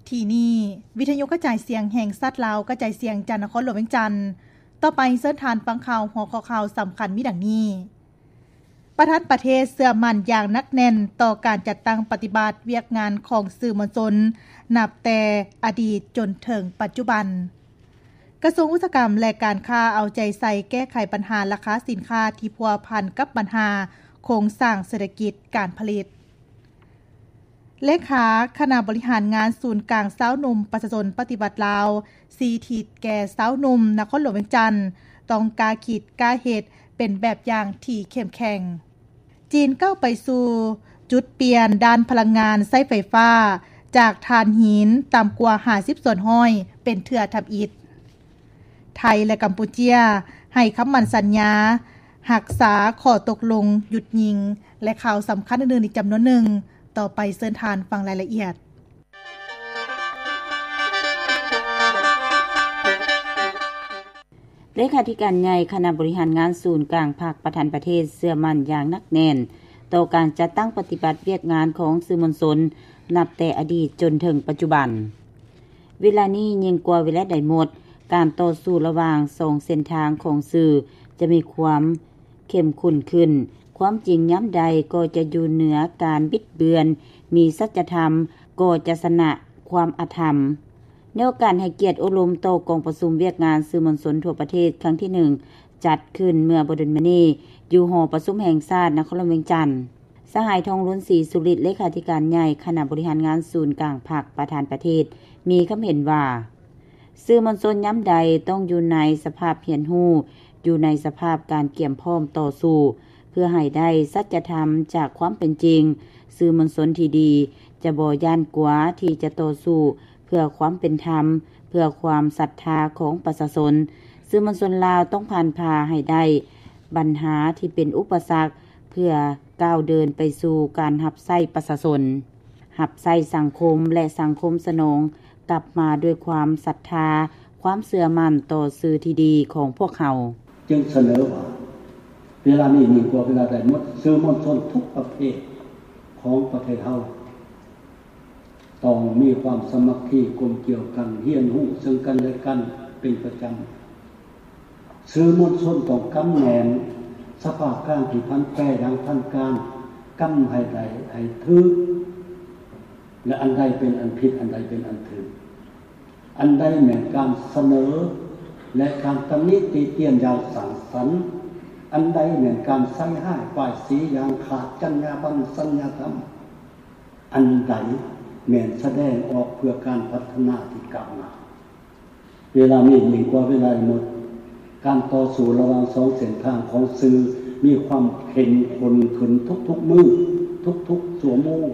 ທີ່ນີ້ ວິທະຍຸກະຈາຍສຽງແຫ່ງຊາດລາວ ກະຈາຍສຽງຈາກນະຄອນຫຼວງວຽງຈັນ. ຕໍ່ໄປເຊີນທ່ານຟັງຂ່າວ ຫົວຂໍ້ຂ່າວສຳຄັນມີດັ່ງນີ້: ປະທານປະເທດເຊື່ອໝັ້ນຢ່າງໜັກແໜ້ນຕໍ່ການຈັດຕັ້ງປະຕິບັດວຽກງານຂອງສື່ມວນຊົນ ນັບແຕ່ອະດີດຈົນເຖິງປັດຈຸບັນ. ກະຊວງອຸດສາຫະກຳ ແລະ ການຄ້າເອົາໃຈໃສ່ແກ້ໄຂບັນຫາລາຄາສິນຄ້າທີ່ພົວພັນກັບບັນຫາໂຄງສ້າງເສດຖະກິດການຜະລິດ. ເລຂາຄະນະບໍລິຫານງານສູນກາງຊາວໜຸ່ມປະຊາຊົນປະຕິວັດລາວ ຊີ້ທິດແກ່ຊາວໜຸ່ມນະຄອນຫຼວງວຽງຈັນ ຕ້ອງກ້າຄິດກ້າເຮັດເປັນແບບຢ່າງທີ່ເຂັ້ມແຂງ. ຈີນກ້າວໄປສູ່ຈຸດປ່ຽນດ້ານພະລັງງານໃຊ້ໄຟຟ້າ ຈາກຖ່ານຫີນຕ່ຳກວ່າຫ້າສິບສ່ວນຮ້ອຍເປັນເທື່ອທຳອິດ. ໄທ ແລະ ກຳປູເຈຍ ໃຫ້ຄຳໝັ້ນສັນຍາຮັກສາຂໍ້ຕົກລົງຢຸດຍິງ ແລະ ຂ່າວສຳຄັນອື່ນໆອີກຈຳນວນໜຶ່ງ. ຕໍ່ໄປເຊີນທ່ານຟັງລາຍລະອຽດ. ເລຂາທິການໃຫຍ່ຄະນະບໍລິຫານງານສູນກາງພັກ ປະທານປະເທດເຊື່ອໝັ້ນຢ່າງໜັກແໜ້ນຕໍ່ການຈັດຕັ້ງປະຕິບັດວຽກງານຂອງສື່ມວນຊົນ ນັບແຕ່ອະດີດຈົນເຖິງປັດຈຸບັນ. ເວລານີ້ຍິ່ງກວ່າເວລາໃດໝົດ, ການຕໍ່ສູ້ລະຫວ່າງສອງເສັ້ນທາງຂອງສື່ຈະມີຄວາມເຂັ້ມຂຸ້ນຂຶ້ນ. ຄວາມຈິງຍາມໃດກໍຈະຢູ່ເໜືອການບິດເບືອນ, ມີສັດຈະທຳກໍຈະຊະນະຄວາມອະທຳ. ໃນໂອກາດໃຫ້ກຽດໂອ້ລົມຕໍ່ກອງປະຊຸມວຽກງານສື່ມວນຊົນທົ່ວປະເທດຄັ້ງທີໜຶ່ງ ຈັດຂຶ້ນເມື່ອບໍ່ດົນມານີ້ ຢູ່ຫໍປະຊຸມແຫ່ງຊາດນະຄອນຫຼວງວຽງຈັນ, ສະຫາຍ ທອງລຸນ ສີສຸລິດ ເລຂາທິການໃຫຍ່ຄະນະບໍລິຫານງານສູນກາງພັກ ປະທານປະເທດ ມີຄຳເຫັນວ່າ ສື່ມວນຊົນຍາມໃດຕ້ອງຢູ່ໃນສະພາບຮຽນຮູ້, ຢູ່ໃນສະພາບການກຽມພ້ອມຕໍ່ສູ້ ເພື່ອໃຫ້ໄດ້ສັດຈະທຳຈາກຄວາມເປັນຈິງ. ສື່ມວນຊົນທີ່ດີຈະບໍ່ຢ້ານກົວທີ່ຈະຕໍ່ສູ້ເພື່ອຄວາມເປັນທຳ, ເພື່ອຄວາມສັດທາຂອງປະຊາຊົນ. ສື່ມວນຊົນລາວຕ້ອງຜ່ານຜ່າໃຫ້ໄດ້ບັນຫາທີ່ເປັນອຸປະສັກ ເພື່ອກ້າວເດີນໄປສູ່ການຮັບໃຊ້ປະຊາຊົນ, ຮັບໃຊ້ສັງຄົມ ແລະ ສັງຄົມສະໜອງກັບມາດ້ວຍຄວາມສັດທາ, ຄວາມເຊື່ອໝັ້ນຕໍ່ສື່ທີ່ດີຂອງພວກເຮົາ. ຈຶ່ງສະເໜີວ່າ ເວລານີ້ຍິ່ງກວ່າເວລາໃດໝົດ, ສື່ມວນຊົນທຸກປະເພດຂອງປະເທດເຮົາ ຕ້ອງມີຄວາມສາມັກຄີກົມກຽວກັນ, ຮຽນຮູ້ເຊິ່ງກັນແລະກັນເປັນປະຈຳ. ສື່ມວນຊົນຕ້ອງກຳແໜ້ນສະພາບການທີ່ຜັນແປຢ່າງທັນການ, ກຳໃຫ້ໄດ້ໃຫ້ຖືກ ແລະ ອັນໃດເປັນອັນຜິດ, ອັນໃດເປັນອັນຖືກ, ອັນໃດແມ່ນການສະເໜີ ແລະ ການຕຳນິຕິຕຽນຢ່າງສ້າງສັນ, ອັນໃດແມ່ນການໃສ່ຮ້າຍປ້າຍສີຢ່າງຂາດຈັນຍາບັນສັນຍາທຳ, ອັນໃດແມ່ນສະແດງອອກເພື່ອການພັດທະນາທີ່ກ້າວໜ້າ. ເວລານີ້ຍິ່ງກວ່າເວລາໃດໝົດ, ການຕໍ່ສູ້ລະຫວ່າງສອງເສັ້ນທາງຂອງສື່ມີຄວາມເຂັ້ມຂຸ້ນຂຶ້ນທຸກໆມື້, ທຸກໆຊົ່ວໂມງ.